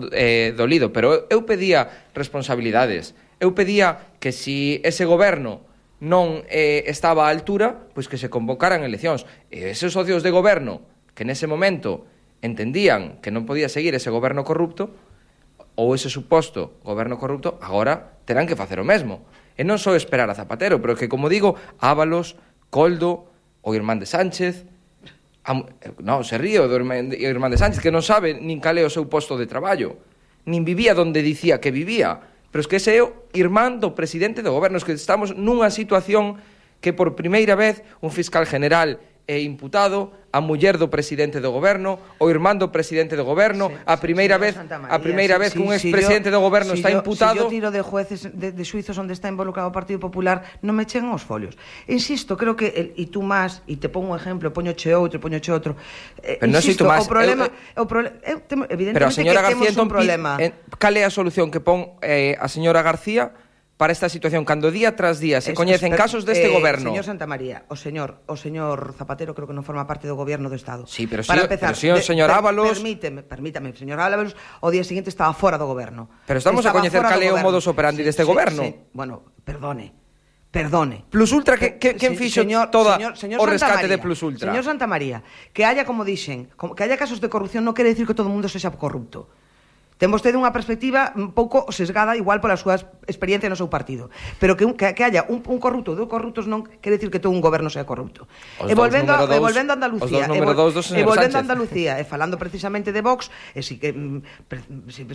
Speaker 4: dolido, pero eu pedía responsabilidades. Eu pedía que se ese goberno non estaba á altura, pois que se convocaran eleccións. E eses socios de goberno que nese momento entendían que non podía seguir ese goberno corrupto, ou ese suposto goberno corrupto, agora terán que facer o mesmo. E non só esperar a Zapatero, pero que, como digo, Ábalos, Coldo, o irmán de Sánchez... Non, se ríe o irmán de Sánchez, que non sabe nin cal é o seu posto de traballo, nin vivía donde dicía que vivía. Pero es que ese é o irmán do presidente do goberno. Es que estamos nunha situación que por primeira vez un fiscal general é imputado, a muller do presidente do goberno, o irmán do presidente do goberno, a primeira vez que un expresidente do goberno está imputado.
Speaker 3: Se yo tiro de jueces de suizos onde está involucrado o Partido Popular, non me chegan os folios. Insisto, creo que e tú máis, e te pongo un exemplo, poñoche outro.
Speaker 4: Pero non sei tú máis.
Speaker 3: Evidentemente
Speaker 4: pero a señora
Speaker 3: que
Speaker 4: García
Speaker 3: temos un problema.
Speaker 4: Cal é a solución que pon a señora García para esta situación, cando día tras día se coñecen casos deste goberno?
Speaker 3: Señor Santamaría, o señor Zapatero creo que non forma parte do goberno do Estado.
Speaker 4: Sí, pero si o señor Ábalos...
Speaker 3: Permítame, señor Ábalos, o día seguinte estaba fora do goberno.
Speaker 4: Pero estamos a coñecer cal é o modus operandi deste goberno.
Speaker 3: Bueno, perdone, Perdone.
Speaker 4: Plus Ultra, quen fixo todo o rescate de Plus Ultra?
Speaker 3: Señor Santamaría, que haya, como dixen, que haya casos de corrupción non quere dicir que todo o mundo sexa corrupto. Ten vostede unha perspectiva un pouco sesgada igual pola súa experiencia no seu partido, pero que haya un corrupto ou dous corruptos non quere dicir que todo un goberno sea corrupto. E volvendo a Andalucía, e falando precisamente de Vox, e si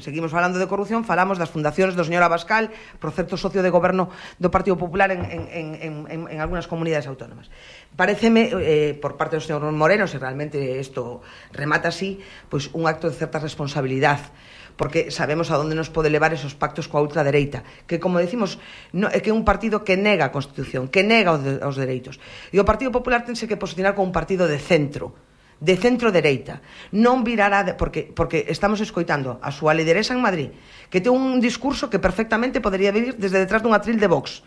Speaker 3: seguimos falando de corrupción, falamos das fundacións do señor Abascal, por certo socio de goberno do Partido Popular en algunhas comunidades autónomas. Paréceme, por parte do señor Moreno, se realmente isto remata así, pois un acto de certa responsabilidade, porque sabemos a onde nos pode levar esos pactos coa ultradereita, que, como decimos, é que é un partido que nega a Constitución, que nega os dereitos. E o Partido Popular tense que posicionar como un partido de centro-dereita. Non virará, porque estamos escoitando a súa lideresa en Madrid, que ten un discurso que perfectamente podería vir desde detrás dun atril de Vox,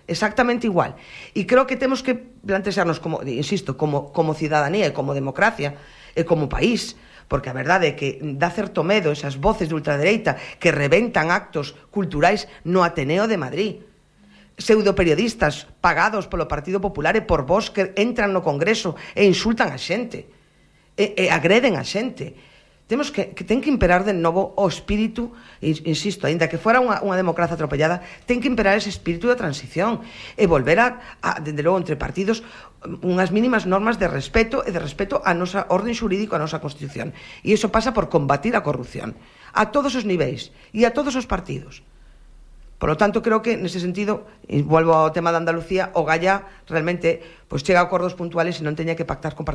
Speaker 3: exactamente igual. E creo que temos que plantearnos, como, insisto, como cidadanía e como democracia e como país, porque a verdade é que dá certo medo esas voces de ultradereita que reventan actos culturais no Ateneo de Madrid, pseudoperiodistas pagados polo Partido Popular e por vos que entran no Congreso e insultan a xente e agreden a xente. Temos que ten que imperar de novo o espírito, insisto, aínda que fora unha democracia atropellada, ten que imperar ese espírito de transición e volver a dende logo, entre partidos, unhas mínimas normas de respeto e de respeto á nosa orden xurídico, á nosa Constitución. E iso pasa por combatir a corrupción a todos os niveis e a todos os partidos. Por lo tanto, creo que, nese sentido, e volvo ao tema de Andalucía, o Gallá realmente chega a acordos puntuales e non teña que pactar con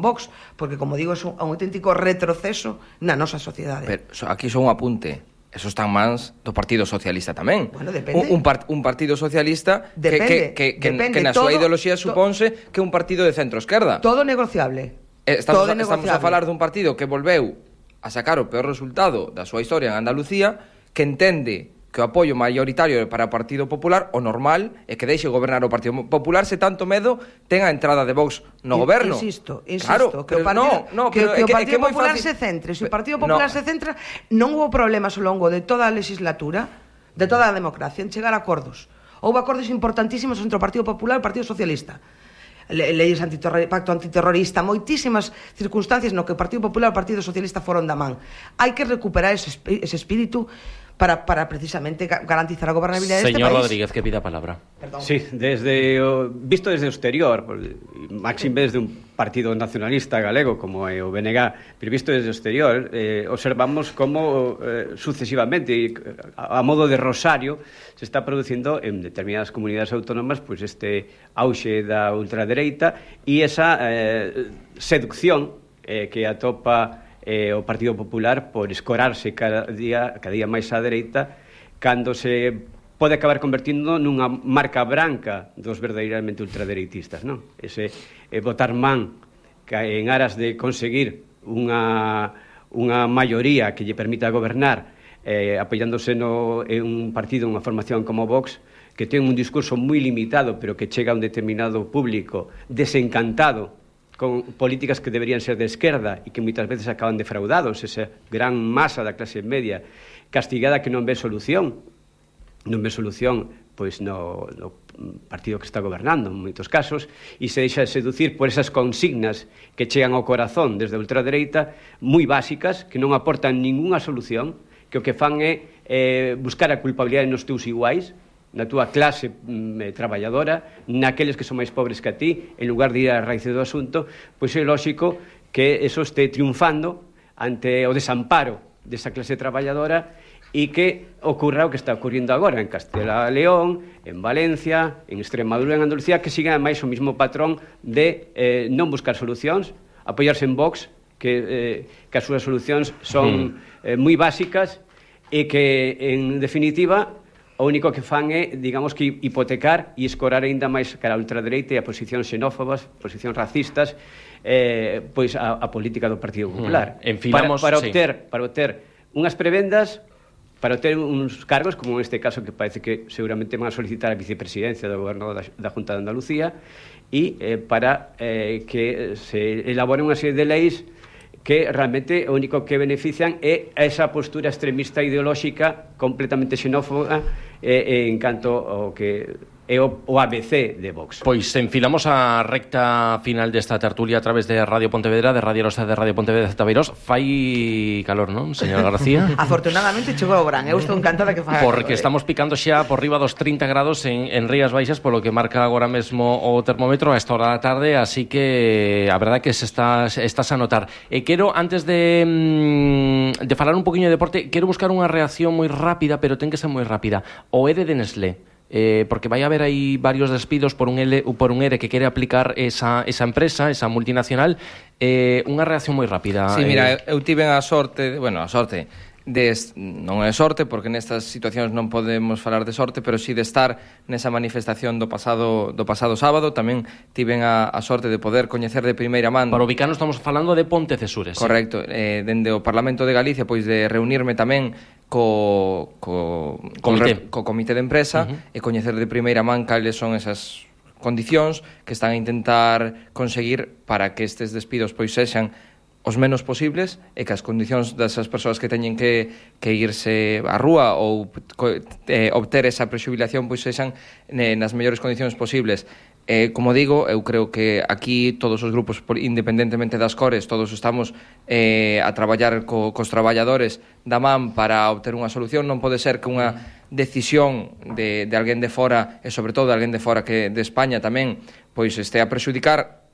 Speaker 3: Vox, porque, como digo, é un auténtico retroceso na nosa sociedade.
Speaker 4: Pero aquí só un apunte. Eso está en mans do Partido Socialista tamén.
Speaker 3: Bueno, depende.
Speaker 4: Un Partido Socialista que na súa ideoloxía suponse que é un partido de centro-esquerda.
Speaker 3: Todo negociable.
Speaker 4: Estamos a falar dun partido que volveu a sacar o peor resultado da súa historia en Andalucía, que entende que o apoio maioritario para o Partido Popular, o normal, é que deixe gobernar o Partido Popular se tanto medo ten a entrada de Vox no goberno.
Speaker 3: Insisto,
Speaker 4: claro,
Speaker 3: que o Partido Popular se centre. Se o Partido Popular se centra, non hubo problemas ao longo de toda a legislatura, de toda a democracia, en chegar a acordos. Houve acordos importantísimos entre o Partido Popular e o Partido Socialista. Leyes pacto antiterrorista, moitísimas circunstancias no que o Partido Popular e o Partido Socialista foron da man. Hai que recuperar ese espírito para precisamente garantizar a gobernabilidade deste país.
Speaker 2: Señor Rodríguez, que pida a palabra.
Speaker 1: Perdón. Sí, visto desde o exterior, máxime desde un partido nacionalista galego como é o BNG, pero visto desde o exterior, observamos como sucesivamente, a modo de rosario, se está producindo en determinadas comunidades autónomas este auxe da ultradereita e esa seducción que atopa o Partido Popular por escorarse cada día máis á dereita, cando se pode acabar convertindo nunha marca branca dos verdadeiramente ultradereitistas, non? Ese botar man en aras de conseguir unha maioría que lle permita gobernar, apoiándose en un partido, unha formación como Vox, que ten un discurso moi limitado, pero que chega a un determinado público desencantado con políticas que deberían ser de esquerda e que moitas veces acaban defraudados, esa gran masa da clase media castigada que non ve solución pois no partido que está gobernando en moitos casos, e se deixa seducir por esas consignas que chegan ao corazón desde a ultradereita, moi básicas, que non aportan ningunha solución, que o que fan é buscar a culpabilidade nos teus iguais, na túa clase traballadora, naqueles que son máis pobres que a ti, en lugar de ir á raíz do asunto, pois é lógico que eso este triunfando ante o desamparo desa clase traballadora e que ocurra o que está ocurrindo agora en Castela e León, en Valencia, en Extremadura, en Andalucía, que siga máis o mismo patrón de non buscar solucións, apoiarse en Vox, que as súas solucións son moi básicas e que, en definitiva, o único que fan é, digamos, que hipotecar e escorar aínda máis cara a ultradereita e a posicións xenófobas, posicións racistas, pois a política do Partido Popular. Para obter unhas prebendas, para obter uns cargos, como neste caso que parece que seguramente van a solicitar a vicepresidencia do goberno da Junta de Andalucía, e para que se elaboren unha serie de leis que realmente o único que benefician é esa postura extremista ideolóxica completamente xenófoba en canto ao que é o ABC de Vox.
Speaker 2: Pois enfilamos a recta final desta tertulia a través de Radio Pontevedra, de Radio Rosa, de Radio Pontevedra de Tabeiros. Fai calor, non, señora García?
Speaker 3: Afortunadamente chegou o verán, eu estou encantada que faga
Speaker 2: Porque
Speaker 3: calor,
Speaker 2: estamos picando xa por riba dos 30 grados en Rías Baixas, polo que marca agora mesmo o termómetro a esta hora da tarde, así que a verdade que se estás a notar. Quero, antes de falar un poquinho de deporte, quero buscar unha reacción moi rápida, pero ten que ser moi rápida. O ERE de Nestlé. Porque vai haber aí varios despidos por un ERE que quere aplicar esa empresa, esa multinacional. Unha reacción moi rápida.
Speaker 4: Sí, mira, eu tive a sorte, non é sorte porque nestas situacións non podemos falar de sorte, pero sí de estar nesa manifestación do pasado sábado. Tamén tiven a sorte de poder coñecer de primeira man.
Speaker 2: Para ubicarnos estamos falando de Pontecesures.
Speaker 4: Correcto, dende o Parlamento de Galicia, pois de reunirme tamén co comité de empresa e coñecer de primeira man cales son esas condicións que están a intentar conseguir para que estes despidos pois sexan os menos posibles e que as condicións desas persoas que teñen que irse á rúa ou obter esa prexubilación pois sexan nas mellores condicións posibles. Como digo, eu creo que aquí todos os grupos, independentemente das cores, todos estamos a traballar cos traballadores da man para obter unha solución. Non pode ser que unha decisión de alguén de fora, e sobre todo de alguén de fora que de España tamén, pois este a prexudicar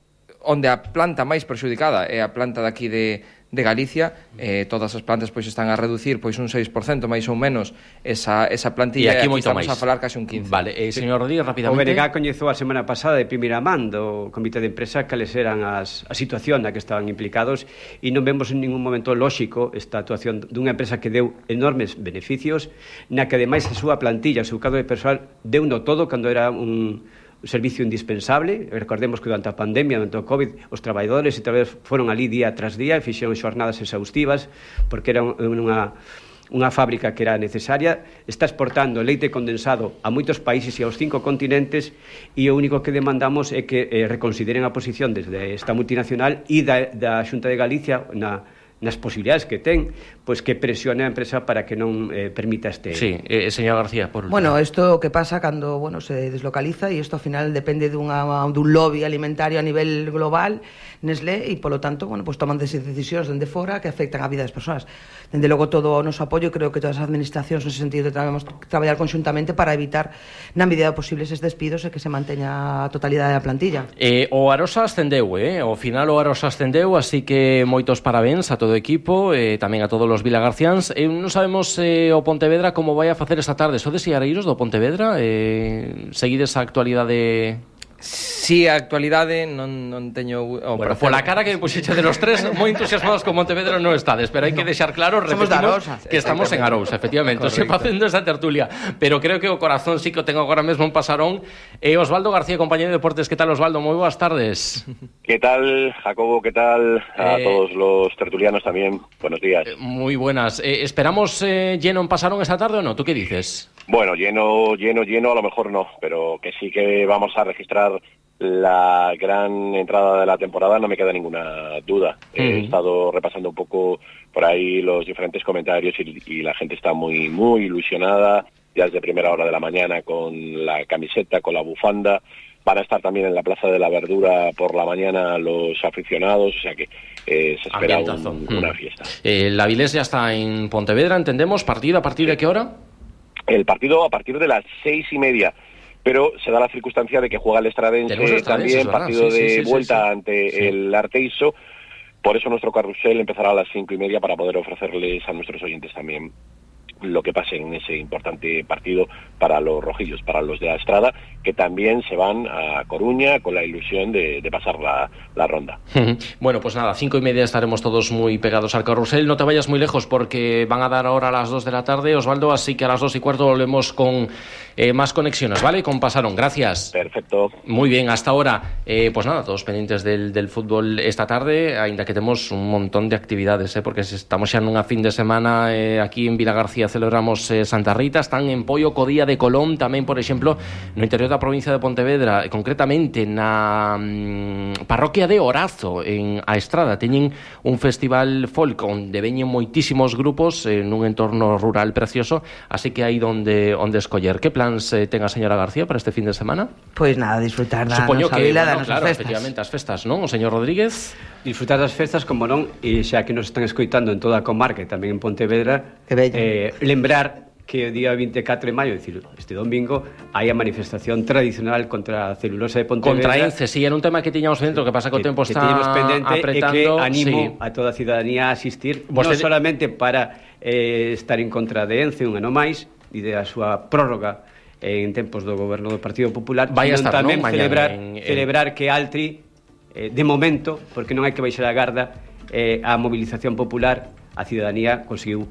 Speaker 4: onde a planta máis prexudicada é a planta daqui de Galicia. Todas as plantas pois están a reducir pois un 6% máis ou menos esa plantilla, e aquí estamos a falar case un 15%.
Speaker 2: Vale, señor Rodríguez, rapidamente.
Speaker 1: O BNG coñezou a semana pasada de primeira man do comité de empresa cales eran a situación na que estaban implicados, e non vemos en ningún momento lóxico esta actuación dunha empresa que deu enormes beneficios, na que ademais a súa plantilla, o seu cadro de persoal deuno todo cando era un servicio indispensable. Recordemos que durante a pandemia, durante o COVID, os traballadores e traballadores foron ali día tras día e fixeron xornadas exhaustivas porque era unha fábrica que era necesaria. Está exportando leite condensado a moitos países e aos 5 continentes, e o único que demandamos é que reconsideren a posición desde esta multinacional e da Xunta de Galicia nas posibilidades que ten, pois que presione a empresa para que non permita este...
Speaker 2: Sí, señor García, por último.
Speaker 3: Bueno, isto que pasa cando se deslocaliza, e isto ao final depende dun lobby alimentario a nivel global, Nestlé, e polo tanto, pues toman decisións dende fora que afectan a vida das persoas. Dende logo todo o noso apoio, creo que todas as administracións nese sentido debemos traballar conxuntamente para evitar na medida posible esses despidos e que se manteña a totalidade da plantilla.
Speaker 2: O Arosa ascendeu, ao final o Arosa ascendeu, así que moitos parabéns a todo o equipo, tamén a todos os vilagarciáns. Non sabemos o Pontevedra como vai a facer esta tarde. Sodes iareiros do Pontevedra? Seguides a actualidade?
Speaker 4: Sí, a actualidade non teño...
Speaker 2: Bueno, pola cara que puxeche de los tres, moi entusiasmados con Pontevedra non estades, pero hai que deixar claro, repetimos, que estamos en Arousa, efectivamente, se facendo esa tertulia, pero creo que o corazón sí que o tengo agora mesmo un pasarón. Osvaldo García, compañero de deportes, que tal, Osvaldo? Moi boas tardes.
Speaker 5: ¿Qué tal, Jacobo? ¿Qué tal? A todos los tertulianos también, buenos días.
Speaker 2: Muy buenas. ¿Esperamos lleno en Pasarón esta tarde o no? ¿Tú qué dices?
Speaker 5: Bueno, lleno, a lo mejor no, pero que sí que vamos a registrar la gran entrada de la temporada, no me queda ninguna duda. He estado repasando un poco por ahí los diferentes comentarios y la gente está muy, muy ilusionada, ya desde primera hora de la mañana con la camiseta, con la bufanda. Van a estar también en la Plaza de la Verdura por la mañana los aficionados, o sea que se espera una fiesta.
Speaker 2: La Avilés ya está en Pontevedra, entendemos. ¿Partido a partir de qué hora?
Speaker 5: El partido a partir de las 6:30, pero se da la circunstancia de que juega el Estradense también, partido de vuelta ante el Arteiso. Por eso nuestro carrusel empezará a las 5:30 para poder ofrecerles a nuestros oyentes también lo que pase en ese importante partido para los rojillos, para los de la Estrada, que también se van a Coruña con la ilusión de pasar la ronda.
Speaker 2: Bueno, pues nada, 5:30 estaremos todos muy pegados al carrusel. No te vayas muy lejos porque van a dar ahora a las 2 de la tarde, Osvaldo, así que a las 2:15 volvemos con más conexiones, ¿vale? Con Pasarón, gracias.
Speaker 5: Perfecto.
Speaker 2: Muy bien, hasta ahora. Pues nada, todos pendientes del fútbol esta tarde, ainda que tenemos un montón de actividades, porque estamos ya en una fin de semana aquí en Vilagarcía día celebramos Santa Rita, están en Poio co Día de Colón, tamén, por exemplo, no interior da provincia de Pontevedra, concretamente na parroquia de Orazo, en A Estrada, teñen un festival folk onde veñen moitísimos grupos nun entorno rural precioso, así que hai onde escoller. Que plans ten a señora García para este fin de semana?
Speaker 3: Pois nada, disfrutar da
Speaker 2: Supoño
Speaker 3: nosa vila, das nosas
Speaker 2: claro,
Speaker 3: festas.
Speaker 2: efectivamente, as festas, non? O señor Rodríguez?
Speaker 1: Disfrutar das festas, como non, e xa que nos están escoitando en toda a comarca e tamén en Pontevedra, lembrar que o día 24 de maio, é dicir, este domingo, hai a manifestación tradicional contra a celulosa de Pontevedra.
Speaker 2: Contra ENCE, si, era un tema que tiñamos dentro, que pasa que o tempo está apretando.
Speaker 1: E que animo a toda a ciudadanía a asistir, non solamente para estar en contra de ENCE un ano máis e da súa prórroga en tempos do goberno do Partido Popular, sino tamén celebrar que Altri, de momento, porque non hai que baixar a garda, a movilización popular, a ciudadanía conseguiu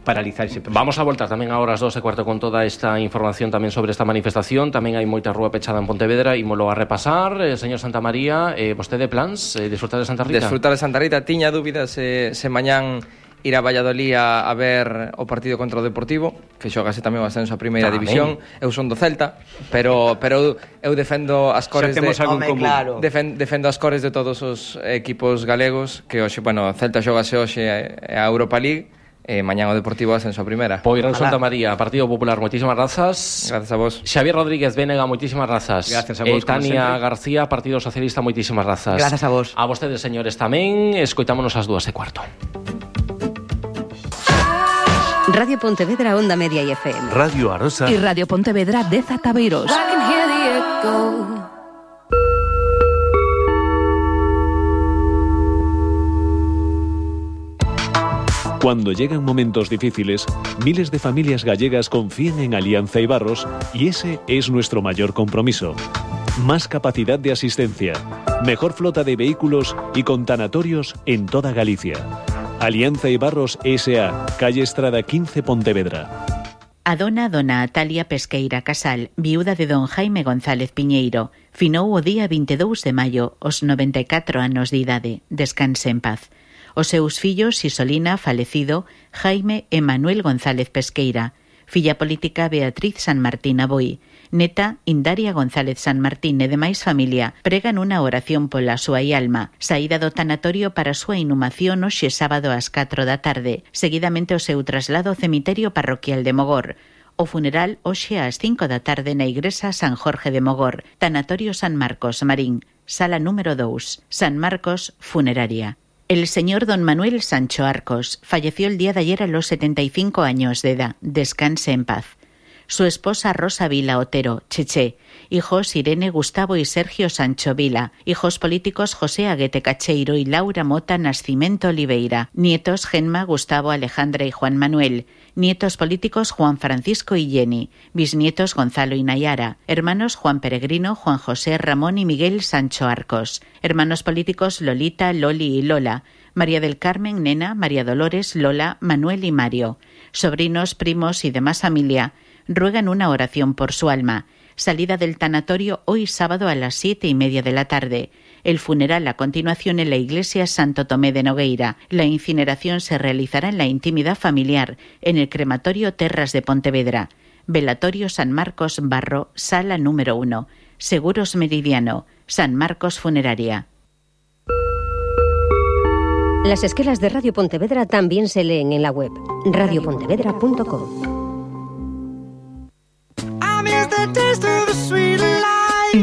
Speaker 1: paralizar ese proceso.
Speaker 2: Vamos a voltar tamén agora ás 2:15 con toda esta información tamén sobre esta manifestación. Tamén hai moita rúa pechada en Pontevedra, ímolo a repasar. Señor Santamaría, vostede plans disfrutar de Santa Rita?
Speaker 4: Disfrutar de Santa Rita, tiña dúbidas se mañán ir a Valladolid a ver o partido contra o Deportivo, que xogase tamén o ascenso a primeira división. Eu son do Celta, pero eu defendo as cores defendo as cores de todos os equipos galegos, que hoxe, bueno, Celta xogase hoxe a Europa League, mañán o Deportivo ascenso a primeira.
Speaker 2: Poirán Santa María, Partido Popular, moitísimas grazas.
Speaker 4: Gracias a vos.
Speaker 2: Xavier Rodríguez Vénega, moitísimas grazas.
Speaker 1: Gracias a vos.
Speaker 2: Tania García, Partido Socialista, moitísimas grazas.
Speaker 3: Gracias a vos.
Speaker 2: A vostedes, señores, tamén. Escoitámonos ás 2:15.
Speaker 6: Radio Pontevedra, Onda Media y FM.
Speaker 7: Radio Arosa
Speaker 8: y Radio Pontevedra de Zataveiros.
Speaker 7: Cuando llegan momentos difíciles, miles de familias gallegas confían en Alianza Ibarros y ese es nuestro mayor compromiso. Más capacidad de asistencia, mejor flota de vehículos y con tanatorios en toda Galicia. Alianza Ibarros S.A., calle Estrada 15, Pontevedra.
Speaker 9: A dona Atalia Pesqueira Casal, viuda de don Jaime González Piñeiro, finou o día 22 de maio aos 94 anos de idade. Descanse en paz. Os seus fillos Isolina, falecido, Jaime e Manuel González Pesqueira, filla política Beatriz San Martín Aboi, neta Indaria González San Martín e demais familia pregan unha oración pola súa alma, saída do tanatorio para a súa inhumación hoxe sábado ás 4 da tarde, seguidamente o seu traslado ao cemiterio parroquial de Mogor. O funeral hoxe ás 5 da tarde na Igrexa San Jorge de Mogor, tanatorio San Marcos, Marín, sala número 2, San Marcos, funeraria. El señor don Manuel Sancho Arcos falleció el día de ayer a los 75 años de edad. Descanse en paz. Su esposa Rosa Vila Otero, Cheche, hijos Irene, Gustavo y Sergio Sancho Vila, hijos políticos José Aguete Cacheiro y Laura Mota Nascimento Oliveira, nietos Genma, Gustavo, Alejandra y Juan Manuel, nietos políticos Juan Francisco y Jenny, bisnietos Gonzalo y Nayara, hermanos Juan Peregrino, Juan José, Ramón y Miguel Sancho Arcos, hermanos políticos Lolita, Loli y Lola, María del Carmen, Nena, María Dolores, Lola, Manuel y Mario, sobrinos, primos y demás familia, ruegan una oración por su alma. Salida del tanatorio hoy sábado a las 7:30 de la tarde. El funeral a continuación en la iglesia Santo Tomé de Nogueira. La incineración se realizará en la intimidad familiar, en el crematorio Terras de Pontevedra. Velatorio San Marcos Barro, sala número 1. Seguros Meridiano, San Marcos Funeraria.
Speaker 6: Las esquelas de Radio Pontevedra también se leen en la web radiopontevedra.com.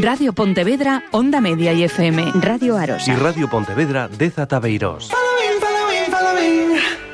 Speaker 8: Radio Pontevedra, Onda Media y FM.
Speaker 6: Radio Arosa.
Speaker 7: Y Radio Pontevedra de Zataveiros.
Speaker 10: Following.